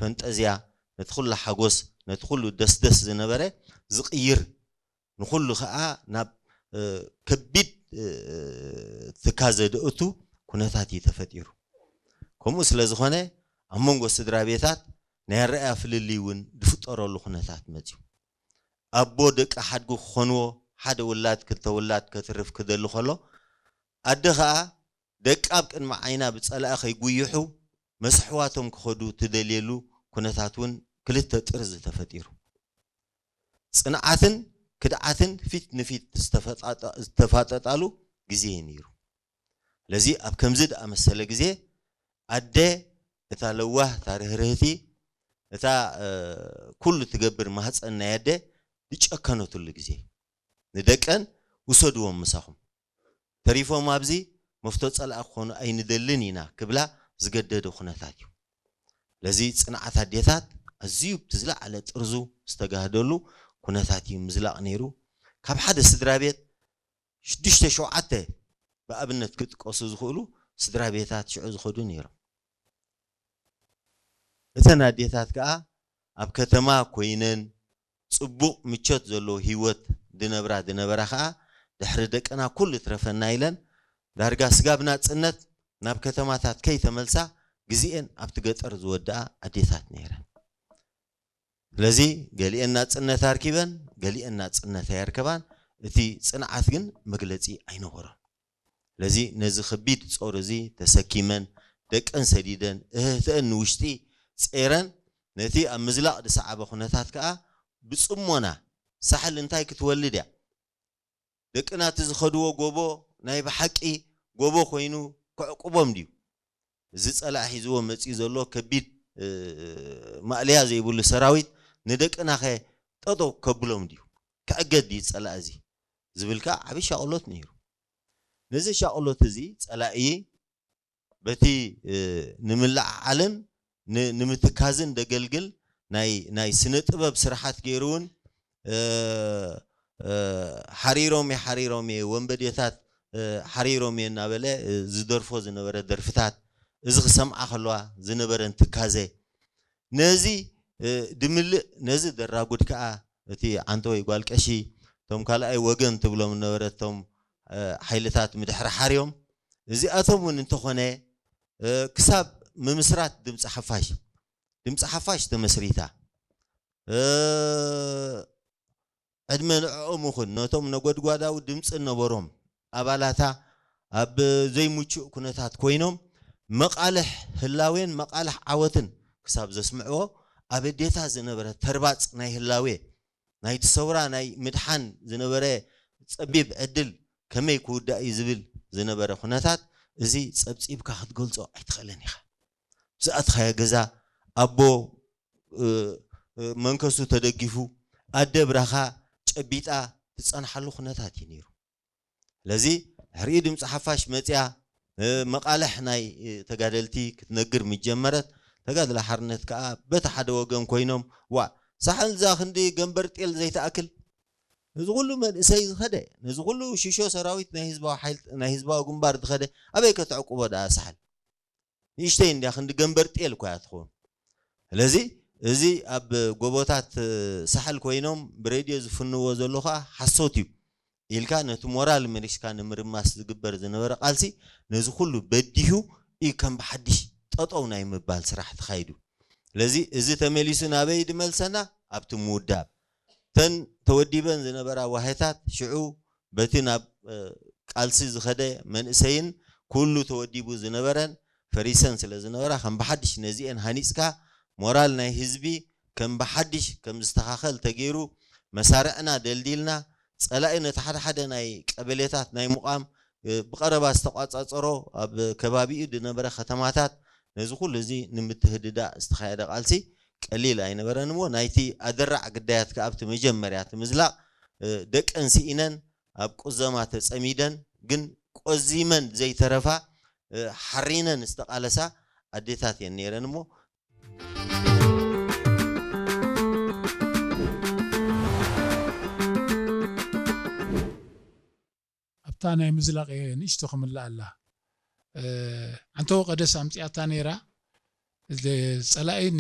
ፈንጠዝያ፣ ነቲ ኩሉ ሓጎስ፣ ነቲ ኩሉ ደስደስ ዝነበረ ዝቕይር፣ ንኹሉ ኸኣ ናብ ከቢድ ትካዘ ደእቱ ኩነታት እዩ ተፈጢሩ። ከምኡ ስለ ዝኾነ ኣብ መንጎ ስድራ ቤታት ናይ ኣረኣያ ፍልልይ እውን ዝፍጠረሉ ኩነታት መፅዩ። ኣቦ ደቂ ሓድጉ ክኾንዎ፣ ሓደ ውላድ ክልተ ውላድ ከትርፍ ክደሊ ከሎ፣ ኣደ ኸኣ ደቃ ኣብ ቅድሚ ዓይና ብጸላኢ ከይጉይሑ መስሕዋቶም ክኸዱ ትደልየሉ ኩነታት እውን ክልተ ጥርዚ ተፈጢሩ። ጽንዓትን ክድዓትን ፊት ንፊት ዝተፈጣጠ- ዝተፋጠጣሉ ግዜ እዩ ነይሩ። ስለዚ ኣብ ከምዚ ዝኣመሰለ ግዜ ኣደ እታ ለዋህ፣ እታ ርህርህቲ፣ እታ ኩሉ ትገብር ማህፀን ናይ ኣደ ዝጨከነትሉ ግዜ፣ ንደቀን ውሰድዎም ምሳኹም፣ ተሪፎም ኣብዚ መፍቶ ፀላእ ክኾኑ ኣይንደልን ኢና ክብላ ዝገደደ ኩነታት እዩ። ስለዚ ፅንዓት ኣዴታት ኣዝዩ ብዝለዓለ ጥርዙ ዝተጋህደሉ ኩነታት እዩ ምዝላቕ ነይሩ። ካብ ሓደ ስድራ ቤት ሽዱሽተ ሸውዓተ ብኣብነት ክጥቀሱ ዝኽእሉ ስድራ ቤታት ሽዑ ዝኸዱ ነይሮም። እተን ኣዴታት ከኣ ኣብ ከተማ ኮይነን ጽቡቕ ምቾት ዘለዎ ህይወት ድነብራ ድነበራ ከኣ ድሕሪ ደቅና ኩሉ ትረፈና ኢለን ዳርጋ ስጋብ ናጽነት ናብ ከተማታት ከይተመልሳ ግዜኤን ኣብቲ ገጠር ዝወድኣ ኣዴታት ነይረን። ስለዚ ገሊኤን ናጽነት ኣርኪበን፣ ገሊኤን ናጽነት ኣየርከባን። እቲ ጽንዓት ግን መግለጺ ኣይነበሮን። ስለዚ ነዚ ከቢድ ጾር እዚ ተሰኪመን፣ ደቀን ሰዲደን፣ እህህተአን ንውሽጢ ጼረን፣ ነቲ ኣብ ምዝላቕ ዝሰዓበ ኩነታት ከኣ ብጽሞና ሳሕል እንታይ ክትወልድ እያ? ደቅና እቲ ዝኸድዎ ጎቦ ናይ ብሓቂ ጎቦ ኮይኑ ከዕቁቦም ድዩ? እዚ ጸላኢ ሒዝዎ መጺኡ ዘሎ ከቢድ ማእለያ ዘይብሉ ሰራዊት ንደቅናኸ ጠጠው ከብሎም ድዩ? ክዕገድ ድዩ ጸላኢ እዚ? ዝብል ከኣ ዓብዪ ሻቕሎት ነይሩ። ነዚ ሻቕሎት እዚ ጸላኢ በቲ ንምልዕዓልን ንምትካዝን ደገልግል ናይ ስነ ጥበብ ስራሓት ገይሩ እውን ሓሪሮም እየ ሓሪሮም እየ ወንበዴታት ሓሪሮም እየ እናበለ ዝደርፎ ዝነበረ ደርፍታት፣ እዚ ክሰምዓ ከለዋ ዝነበረን ትካዘ፣ ነዚ ድምልእ ነዚ ደራጉድ ከዓ እቲ ዓንተወይ ጓል ቀሺ እቶም ካልኣይ ወገን ትብሎም ነበረ እቶም ሓይልታት ምድሕሪ ሓርዮም እዚኣቶም እውን እንተኾነ ክሳብ ምምስራት ድምፂ ሓፋሽ ድምፂ ሓፋሽ ተመስሪታ ዕድመ ንዕኦም ይኹን ነቶም ነጎድጓዳዊ ድምፂ ነበሮም ኣባላታ ኣብ ዘይምቹእ ኩነታት ኮይኖም መቓልሕ ህላዌን መቓልሕ ዓወትን ክሳብ ዘስምዕዎ ኣብ ኣዴታ ዝነበረ ተርባፅ ናይ ህላዌ ናይቲ ሰውራ ናይ ምድሓን ዝነበረ ፀቢብ ዕድል ከመይ ክውዳእ እዩ ዝብል ዝነበረ ኩነታት እዚ ፀብፂብካ ክትገልፆ ኣይትኽእልን ኢኻ። ዝኣትኻዮ ገዛ ኣቦ መንከሱ ተደጊፉ ኣደ ብራኻ ጨቢጣ ትፀንሓሉ ኩነታት እዩ ነይሩ። ስለዚ ድሕሪኡ ድምፂ ሓፋሽ መፅያ መቃልሕ ናይ ተጋደልቲ ክትነግር ምጀመረት ተጋድሎ ሓርነት ከዓ በቲ ሓደ ወገን ኮይኖም ዋእ ሳሕል እዛ ክንዲ ገንበር ጤል ዘይትኣክል ነዚ ኩሉ መንእሰይ ዝኸደ ነዚ ኩሉ ሽሾ ሰራዊት ናይ ህዝባዊ ሓይል ናይ ህዝባዊ ግንባር ዝኸደ ኣበይ ከተዕቁቦ ደኣ ሳሕል ንእሽተይ እንድያ ክንዲ ገንበር ጤል እኳ እያ ትኸውን። ስለዚ እዚ ኣብ ጎቦታት ሳሕል ኮይኖም ብሬድዮ ዝፍንዎ ዘሎ ከዓ ሓሶት እዩ ኢልካ ነቲ ሞራል መሊስካ ንምርማስ ዝግበር ዝነበረ ቃልሲ ነዚ ኩሉ በዲሁ እዩ ከም ብሓድሽ ጠጠው ናይ ምባል ስራሕ ተኻይዱ። ስለዚ እዚ ተመሊሱ ናበይ ድመልሰና ኣብቲ ምውዳብ ተን ተወዲበን ዝነበራ ዋሄታት ሽዑ በቲ ናብ ቃልሲ ዝኸደ መንእሰይን ኩሉ ተወዲቡ ዝነበረን ፈሪሰን ስለ ዝነበራ ከም ብሓድሽ ነዚኤን ሃኒፅካ ሞራል ናይ ህዝቢ ከም ብሓድሽ ከም ዝተኻኸል ተገይሩ መሳርዕና ደልዲልና ፀላኢ ነቲ ሓደ ሓደ ናይ ቀበሌታት ናይ ምቋም ብቐረባ ዝተቋፃፀሮ ኣብ ከባቢኡ ዝነበረ ከተማታት ነዚ ኩሉ እዚ ንምትህድዳእ ዝተኻየደ ቃልሲ ቀሊል ኣይነበረን እሞ ናይቲ ኣደራዕ ግዳያት ከኣ ኣብቲ መጀመርያ እቲ ምዝላቕ ደቀን ስኢነን ኣብ ቁዘማ ተጸሚደን ግን ቆዚመን ዘይተረፋ ሓሪነን ዝተቓለሳ ኣዴታት እየን ነይረን እሞ ኣብታ ናይ ምዝላቕ ንእሽቶ ክምልኣ ኣላ። ዓንተወ ቀደስ ኣምፂኣታ ነይራ። ፀላኢ